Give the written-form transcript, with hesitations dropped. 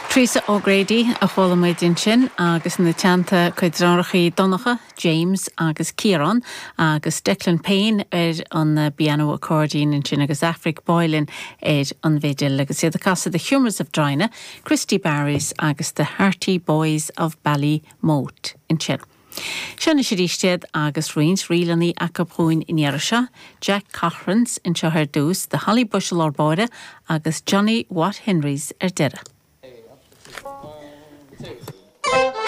Teresa O'Grady a chuala muid ansin agus ina teannta cuid deartháireacha Donncha, James agus Ciarán agus Declan Payne ar an bpianó accordion ansin agus Aifric Boylan ar an bhfidil agus iad ag casadh The Humours of Drina, Christy Barrys agus The Hearty Boys of Ballymote ansin. Seo anois arís iad agus roinnt ríleanna acu dhúinn an iarraidh seo, Jack Cochrane's anseo ar dtús, The Holly Bush i lár báire agus Johnny Watt Henry's ar deireadh.